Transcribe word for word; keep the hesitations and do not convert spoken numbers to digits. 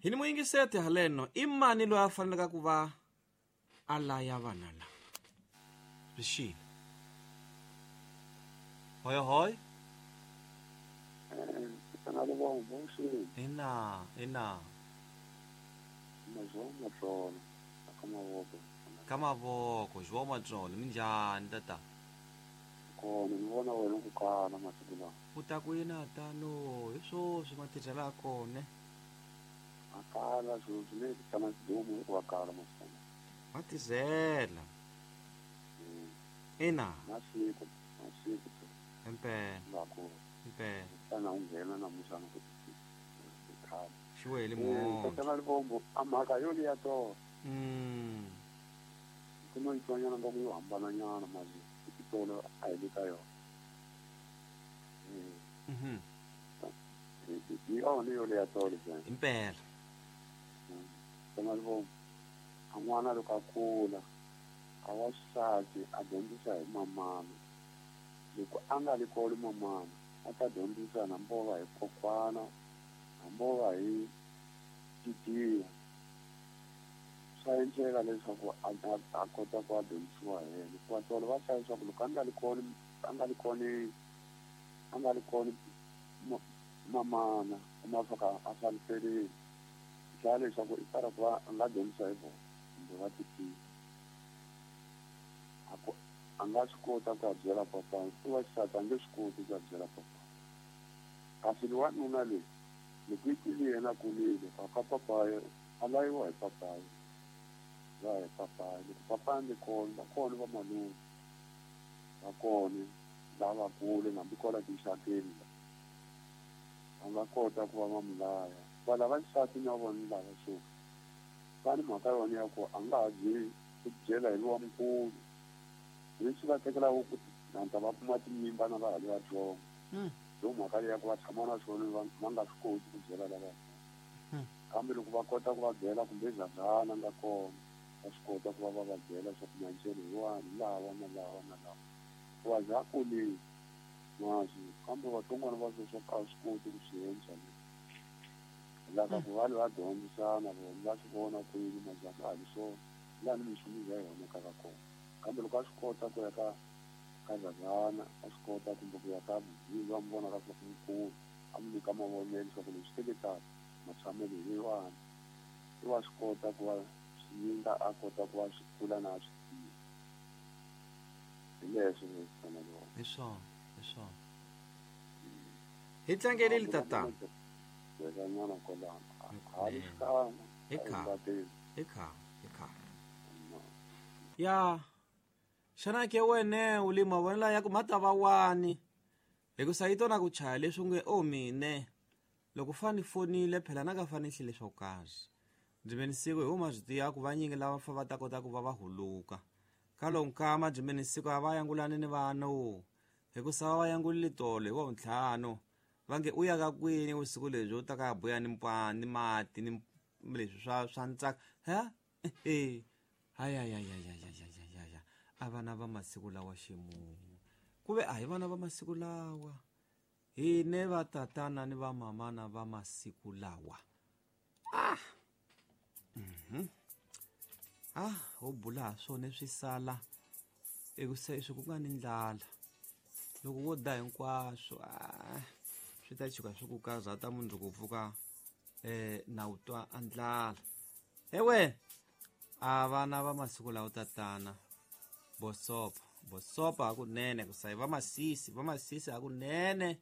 Hi ni muyingiseti haleno i mani loyi a faneleke ku va a laya vana la swi xile hoy hoy ina ina ka mavoko João Matsolo minjhani tata kona ni vona wena ku kala masiku lawa u ta ku yini tano hi swoswi matirhelo ya kona a kala swoswi ne ku tshama xidumu hikuva kala masiku matirhela ina masiku masiku impela impela xana u nghena namuntlha ku khale xiwele mo tata Libombo a mhaka yo liya to mm kuma yitswanyana nga ku yo hambananyana mali tolo a hi le ka yona mhm hi yona yo leya tolo impela tata Libombo a n'wana loko a kula a wa xisati a dyondzisa hi mamana loko a nga li koli mamana a ta dyondzisa hambi va hi kokwana hambi va hi titiya swa endleka leswaku a a kota ku a dyondzisiwa hi yena hikuva tolo va hlaya leswaku loko a nga li koli a nga li koli a nga li koli mamana kuma swa ka a faniserile hlaya leswaku i fara ku va a nga dyondzisa hi vona kumbe va titiya a ku a nga swi kota ku ya byela papa i wa xisati a nge swi koti ku ya byela papa kasi wanuna leyi loko yi tile yena a kulile ka papaye a layiwa hi papaye va hi papaye loko papa a ni kona va kona va malume va kona lavakulu hambi kwala tinxakeni va nga kota ku va va mu laya va lava xisati na vona lava so va ni mhaka yona ya ku a nga ha byeli ku byela hi lowa mukulu leswi va tekelaka ku nanta va kuma tinyimba na va ha ri vatsongo yo mhaka leyi ya ku va tshama na swona va va nga swi koti ku byela lava kambe loko va kota ku va byela kumbe zazana nga kona va swi kota ku va va va byela swa ku maendlelo hi wani lawa na lawa na lawa hikuva za kulile maswi kambe vatsongwana va sweswo a swi koti ku swi endla lava ku va va dyondzisana vona va swi vona kwini majaha a hi swona laha ni minchumu ya yona ka ka kona kambe loko a swi kota ku ya ka ka zazana a swi kota kumbe ku ya ka va mi vona ka swa ku mukulu a mi nyika mavonelo leswaku leswi teketaka matshamelo hi wani i wa swi kota ku va swi a kota ku va swi kula na swi tiva hi leswo leswi hi swona hi swona hi tlangelile tatana nyana kwalano a ri xikana hi khale hi khale hi khale ya xana ke wene u le mavonelo ya ku ma ta va wani hikusa yi tona ku chaya leswi nge o mine loko fani fonile phela na ka fani hlile swo karhi ndzi ve ni siku hi huma swi tiva ku vanyingi lava fa va ta kota ku va va huluka ka lowu nkama byi ve ni siku a va yangulani ni vanhu hikusa va va yangulile tolo hi wa ntlhanu va nge u ya ka kwini vusiku lebyi u ta ka buya ni mpani ni mati ni leswi swa swa ntsaka ha e hayayayayayayaya a vana va masiku lawa ximumu ku ve a hi vana va masiku lawa hine va tatana ni va mamana va masiku lawa ah mhm ah ho bula swona swi sala eku se swi ku nga ni ndlala loko wo da hinkwaswo ah swi ta chuka swi ku karhata mundzuku pfuka eh na u twa a ndlala ewe a vana va masiku lawa tatana bosopa bosopa hakunene ku sayi va masisi va masisi hakunene.